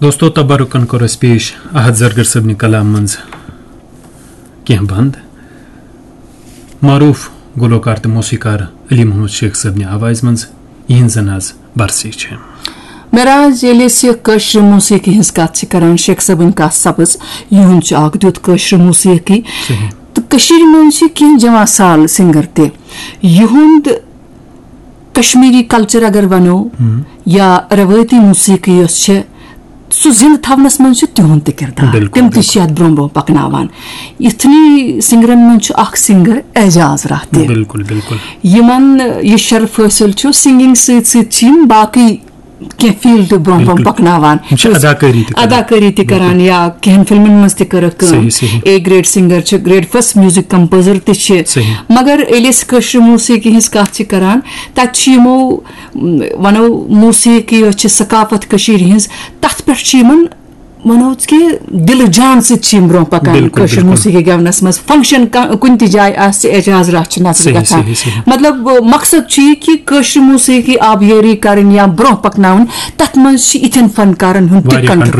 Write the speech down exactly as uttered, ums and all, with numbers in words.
دوستو، تبرکن کوٚر اَسہِ پیش احد زرگر صٲبنہِ کلام منٛز کینٛہہ بند۔ معروف گلوکار تہٕ موسیقار علی محمد شیخ صٲبنہِ آوازِ منٛز یِہنٛز زن آز برسی چھِ۔ معراج، ییٚلہِ أسۍ یہِ کٲشرِ موسیقی ہٕنٛز کتھ چھِ کران، شیخ صٲبٕنۍ کتھ سپٕز، یِہُنٛد چھُ اکھ دیُت کٲشرِ موسیقی۔ صحیح۔ تہٕ کٔشیٖرِ منٛز چھِ کینٛہہ جواں سال سنگر تہِ۔ یِہُنٛد کشمیٖری کلچر اگر ونو، یا روٲیتی موسیقی یۄس چھِ، سُہ زِندٕ تھاونس منٛز چھُ تِہُنٛد تہِ کردار۔ بِلکُل، تِم تہِ چھِ بِلکُل۔ یتھ برونٛہہ برونٛہہ پکناوان۔ یِتھنٕے سنگرن منٛز چھُ اکھ سنگر اعجاز راہ تہِ۔ بِلکُل، بِلکُل۔ یِمن یہِ شرف حٲصِل چھُ، سنگنگ سۭتۍ سۭتۍ چھِ یِم باقٕے کینٛہہ فیلڈ برونٛہہ برونٛہہ بِلکُل۔ پکناوان۔ یِم چھِ اداکٲری تہِ کران۔ اداکٲری تہِ کران یا کینٛہن فلمن منٛز تہِ کٔرٕکھ کٲم۔ صحیح، صحیح۔ اے گریڈ سنگر چھِ، گریڈ فرسٹ میوزک کمپوزر تہِ چھِ۔ صحیح۔ مگر ییٚلہِ أسۍ کٲشرِ موسیقی ہٕنٛز کتھ چھِ کران، تتہِ چھِ یِمو، م، ونو، موسیقی یۄس چھِ ثقافت کٔشیٖرِ ہٕنٛز، تتھ پٮ۪ٹھ چھِ یِمن، ونو کہِ، دلہٕ جان سۭتۍ چھِ یِم برونٛہہ پکان بِلکُل، کٲشِر بِلکُل۔ موسیقی گٮ۪ونس منٛز۔ فنکشن کا-، کُنہِ تہِ جایہِ آسہِ، اعجاز راہ چھِ نظرِ صحیح، گژھان۔ صحیح، صحیح۔ مطلب، مقصد چھُ یہِ کہِ کٲشرِ موسیقی آبیٲری کرٕنۍ یا برونٛہہ پکناوٕنۍ، تتھ منٛز چھِ یِتھٮ۪ن فنکارن ہُنٛد تہِ واریاہ کنٹریبیوشن۔